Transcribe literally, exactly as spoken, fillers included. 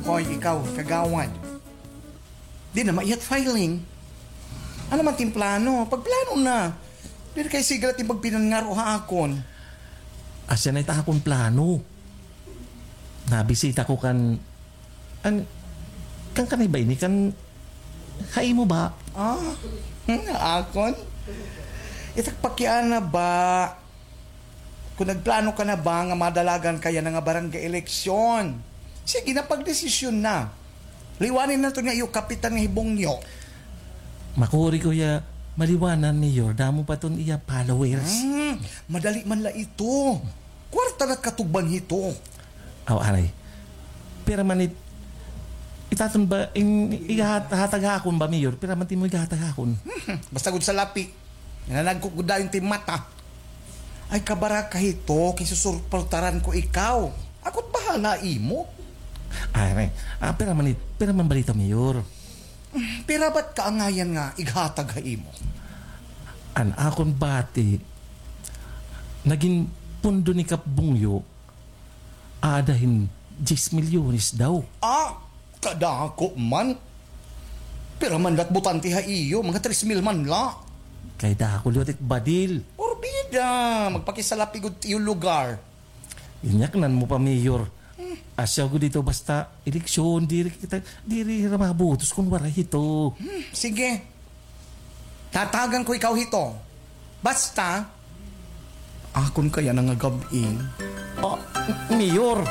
Hoy, ikaw, kagawad. Di na maihat filing. Ano man it im plano? Pagplano na. Diri kay sige la it im pagpinangaro ha akon. Asya na it akon plano. Nabisita ko kan, an, kan kanay ba ini? Kan, ha imo ba? Ah, hmm, akon? It ak pakiana ba? Kon nagplano ka na ba nga madalagan ka yana nga barangay eleksyon? Sige na, pagdesisyon na. Liwani na iton nga iyo kapitan nga hi Bongyo. Makuri ko hiya maliwanan, Mayor. Damo pa iton iya followers. Hmm, madali man la ito. Kwarta na it katugban hito. Aw, anay. Pira man it, it aton ba, in, ihat-, hatag ha akon ba, Mayor? Pira man it imo ighatag ha akon? Hmm, basta gud salapi. Nanagkot gud dayon it im mata. Ay, kabaraka hito, kay susuportaran ko ikaw. Ako it bahala ha imo. Ay, anay. Ah, pira man it, pira man bala ito, Mayor? Hmm, pira ba it kaangayan nga ighatag ha imo? An akon bati, nagin pundo ni Kap Bongyo, aada hin diyes milyones daw. Ah, kadako man. Pira man la it botante ha iyo, mga tres mil man la. Kay dako liwat it badil. Porbida, magpakisalapi gud it iyo lugar. Inyaknan mo pa, Mayor. Hmm. Asya gud ito basta eleksyon, diri kita, diri hira mabotos kon waray hito. Hmm, sige. Tatagan ko ikaw hito. Basta, akon ka yana nga gab-i. Ah, Mayor!